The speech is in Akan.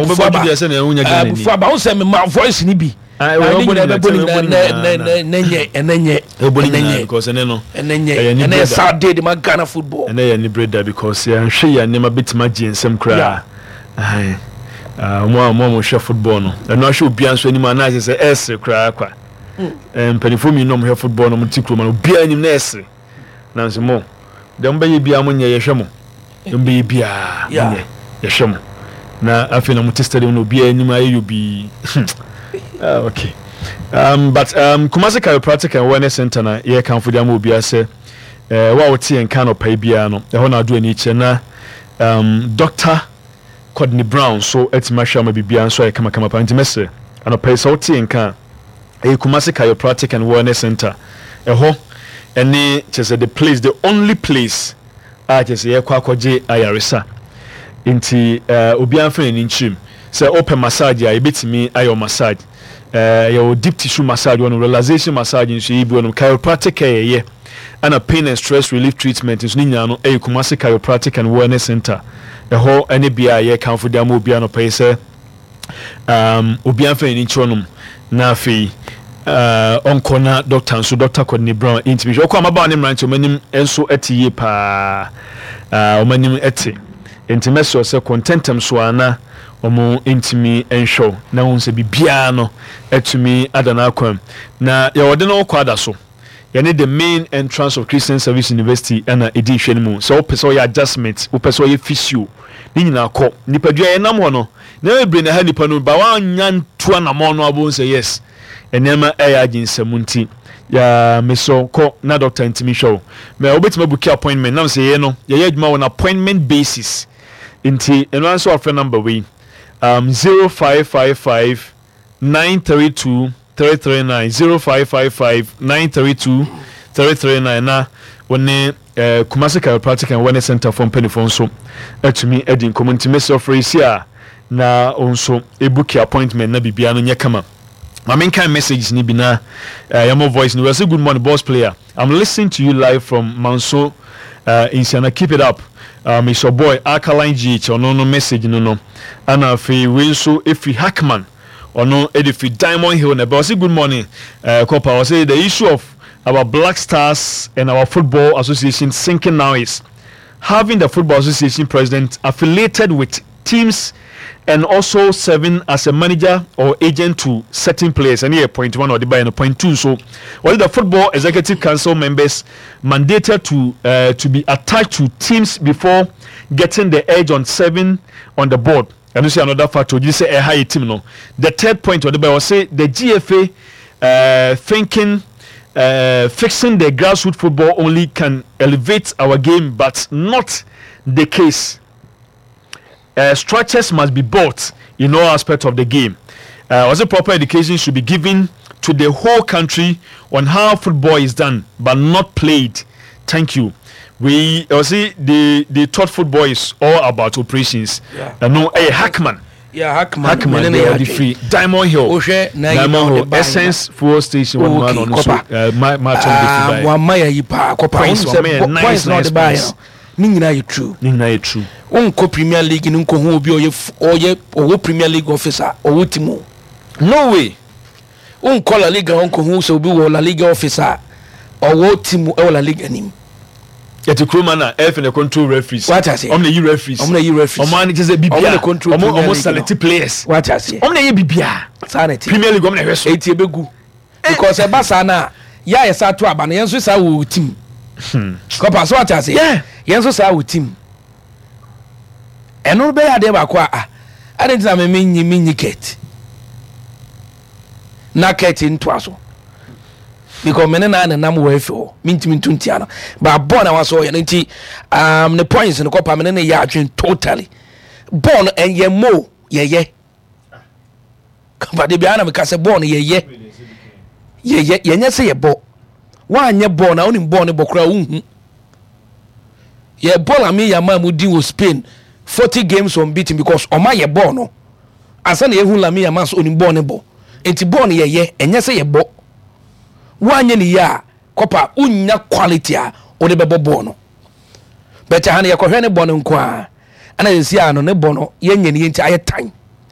Wobɛbɔ aba deɛ sɛ na wonya Ghana ni. Abufu aba wo sɛ mema voice ni bi. Ah, Na wobɛbɔ ne ne nyinaa nyinaa, bɛbɔ ne wobɛbɔ ne nyinaa nyinaa, nɛ nɛ nyɛ ɛnɛ nyɛ Wobɛbɔ ne ɛnɛ nyinaa nyɛ because ɛnɛ no ɛnɛ nyɛ ɛyɛ ɛnɛ yɛ anibere da. sad day de ma Ghana football. Ɛnɛ yɛ anibere da because yɛanhwɛ yɛ nneɛma bɛtumi agye yɛn nsam koraa. Ahan. Ah, wɔn a wɔn a wɔhwɛ football no, ɛno ahwɛ obiara nso anim a na ayɛ sɛ ɛresere koraa kwa. Eh, mpanimfoɔ mmienu a wɔhwɛ football no, wɔte kurom no, obiara anim na ɛresere. Nanso mo, deɛ mobɛyɛ biara monyɛ, yɛhwɛ mo. Deɛ mobɛyɛ biara monyɛ, yɛhwɛ mo. Na afei na mote stadium no, obiara anim ayɛ yobii. Ah, okay. But Kumasi Chiropractic and Wellness Center na yɛkamfo de ama obiara sɛ eh, wo a wote yɛn nka anɔpa yi biara no, ɛhɔ na ado ani kyerɛ na Doctor Courtney Brown nso atumi ahwɛ ama biribiara nso ayɛ kamakama paa. Nti mɛsrɛ, anɔpa yi sɛ wote yɛn nka a, ɛyɛ Kumasi Chiropractic and Wellness Center. Ɛhɔ ɛne kyerɛ sɛ the place, the only place a kyerɛ sɛ yɛkɔ akɔgye ayaresa. Nti eh, obiara mfa n'ani nkyerɛ mu. Sɛ wopɛ massage a, yɛbɛtumi ayɛ wo massage. Eh, yɛwɔ deep tissue massage wɔ nom, relaxation massage nso yɛyɛ bi wɔ nom, chiropractic care yɛyɛ, ɛna pain and stress relief treatment nso ne nyinaa no ɛyɛ Kumasi Chiropractic and Wellness Center. Ɛhɔ ɛne bea a yɛkamfo de ama obiara anɔpa yi sɛ um, obiara mfa n'ani nkyerɛ nom na afei uh, ɔnkɔ na doctor nso Dr. Courtney Brown ntumi hwɛ. Ɔkɔ amabaawa ne mmeranteɛ wɔn anim nso ɛte yie paa, wɔn anim ɛte. Nti mɛsrɛ sɛ kɔ ntɛntɛm so ara na wɔn ntumi nhwɛ wo na wohu sɛ biribiara no atumi ada n'akwan mu. Na yɛwɔ de no kɔ ada so. Yɛne the main entrance of Christian Service University na ɛdi nhwɛ no mu. Sɛ wopɛ sɛ woyɛ adjustment, wopɛ sɛ woyɛ physio, ne nyinaa kɔ. Nipadua yɛnam hɔ no, nneɛma bebree na ɛha nipa no, ba woannya ntu anamɔn no abɛhu sɛ yes, nneɛma ɛyɛ agye nsam nti, yaa mesrɛ wo kɔ na doctor ntumi hwɛ wo. Mɛ wobɛtumi abuki appointment, nam sɛ yɛyɛ no, yɛyɛ adwuma wɔ no appointment basis. Nti ɛno ara nso wafrɛ number wei, 0555 932 339 0555 932 339 na wo ne eh, Kumasi Chiropractic and Wellness Center foɔ mpanimfoɔ nso atumi adi nkɔmmɔ. Nti mesrɛ frɛ yi si a na wo nso ebuki appointment na biribiara no nyɛ kama. Ma menkan messages ni bi na eh, yɛmmɔ voice no. We say good morning boss player. I'm listening to you live from Manso Nsiana keep it up it's your boy Alkaline GH ɔno no message no no ɛna afei wei nso ɛfiri Hackman ɔno ɛde firi Diamond Hill na ɛbɛ ɔse good morning uh, Copper ɔse the issue of our Black Stars and our football association sinking now is having the football association president affiliated with teams and also serving as a manager or agent to certain players. And here, point one or the by point two. So, what the football executive council members mandated to uh, to be attached to teams before getting the edge on serving on the board. And you see another factor. You say a high team no. The third point or the by say the GFA uh, thinking. Uh, fixing the grassroots football only can elevate our game, but not the case. Uh, structures must be built in all aspects of the game. Uh, also, proper education should be given to the whole country on how football is done, but not played. Thank you. We also they thought football is all about operations. Yeah. Uh, no, hey, Hackman. Yeah, Hackman. Hackman, they are the free. Diamond Hill. Oshe, Diamond Hill. Essence fuel station. One man on so. My my ah, one my yi pa kopa. Points, points, nice, nice. Ne nyinaa yɛ true. Ne nyinaa yɛ true. Wonkɔ Premier League no nkɔhu obi a ɔyɛ ɔyɛ ɔwɔ Premier League office a ɔwɔ team o. No way. Wonkɔ La Liga hɔ nkɔhu sɛ obi wɔ La Liga office a ɔwɔ team ɛwɔ La Liga nim. Yɛte kurom na ɛfɛ na control referees. Wate aseɛ. Ɔmo na yi referees. Ɔmo na yi referees. Ɔmo ani kyɛ sɛ bibia. Ɔmo na control Premier League. Ɔmo select players. Wate aseɛ. Ɔmo na yɛ bibia. Saa na ɛte. Premier League ɔmo na ɛhwɛ so. Eti ebegu. Because ɛba saa no a, yɛ a yɛsa to aba no, yɛn nso saa wɔ team. Hmm. Kɔpa so ate ase. Yeah. Yɛn nso saa wɔ team. Ɛno bɛyɛ adeɛ baako a ah, ade nti na me menyi menyi kɛt. Na kɛt ntoa so. Because me ne na nenam wɔ efi hɔ. Mentumi nto ntia no. Ba bɔɔl na waso ɔyɛ no nti um, ne points no kɔpa me ne ne yɛ adwene totally. Bɔɔl no ɛyɛ mo yɛyɛ. Kaba de biara na meka sɛ bɔɔl no yɛyɛ yɛyɛ yɛnyɛ sɛ yɛbɔ woanyɛ bɔɔl na wonim bɔɔl no bɔ koraa wonhu yɛ bɔɔl ame yɛ ama mu din wɔ Spain 40 games unbeaten because ɔma yɛ bɔɔl no ansa na yɛhu Lamine Yamal sɛ onim bɔɔl no bɔ nti bɔɔl no yɛyɛ ɛnyɛ sɛ yɛbɔ woanyɛ ne yie a kɔpa wonnya quality a wode bɛbɔ bɔɔl no bɛkyɛ ha no yɛkɔhwɛ ne bɔ no nko a ɛna yɛsi a no ne bɔ no yɛnyɛ ne yɛ nti ayɛ tan.